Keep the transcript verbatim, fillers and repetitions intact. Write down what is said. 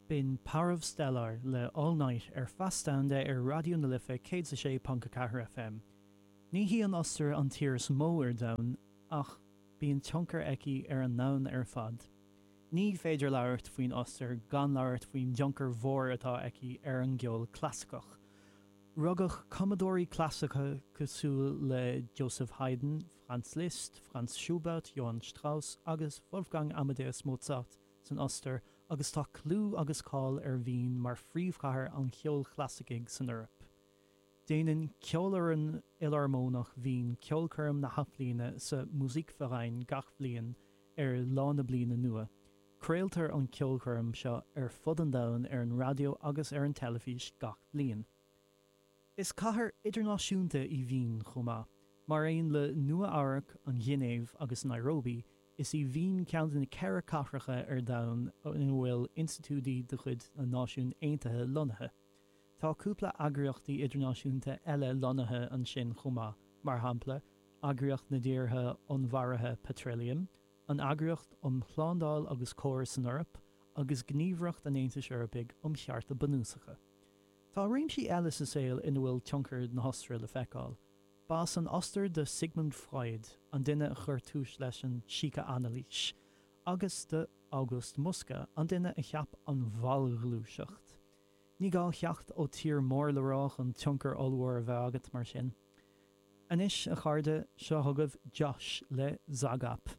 B'in Parov Stelar le All Night ar Feas Domhanda ar Raidió na Life céad a sé ponc a ceathair FM. Ní hí an Ostair an tír is mó ar domhan ach bíonn tionchar aici ar an ndomhan ar fad. Ní féidir labhairt faoin Ostair gan labhairt faoin dtionchar mhór atá aici ar an gceol clasaiceach. Rugadh cumadóirí clasaiceacha cosúil le Joseph Haydn, Franz Liszt, Franz Schubert, Johann Strauss agus Wolfgang Amadeus Mozart san Ostair agus tá clú agus cáil ar Vín mar phríomhchathair an cheoil chlasaicigh san Eoraip. Déanann Ceolfhoireann Fhiolarmónach Vín ceolchoirm na hathbhliana sa Musikverein gach bliain ar Lá na Bliana Nua. Craoltar an ceolchoirm seo ar fud an domhain ar an raidió agus ar an teilifís gach bliain. Is cathair idirnáisiúnta í Vín chomh maith. Mar aon le Nua Eabhrac, an Ghinéiv agus Nairobi, is í Vín ceann de na ceithre cathracha ar domhan ina bhfuil institiúidí de chuid na Náisiún Aontaithe lonnaithe. Tá cúpla eagraíochtaí idirnáisiúnta eile lonnaithe ansin chomh maith, mar shampla, Eagraíocht na dTíortha Onnmhairithe Peitriliam, an Eagraíocht um Shlándáil agus Comhar san Eoraip, agus Gníomhaireacht an Aontais Eorpaigh um Chearta Bunúsacha. Tá réimsí eile sa saol ina bhfuil tionchar na hOstaire le feiceáil. Ba as an Ostair do Sigmund Freud, an duine a chuir tús leis an síce-anailís, agus do August Muska, an duine a cheap an bhallghluaiseacht. Ní gá theacht ó tír mór le rá chun tionchar ollmhór a bheith agat mar sin. Anois a chairde seo chugaibh Josh le Zagap.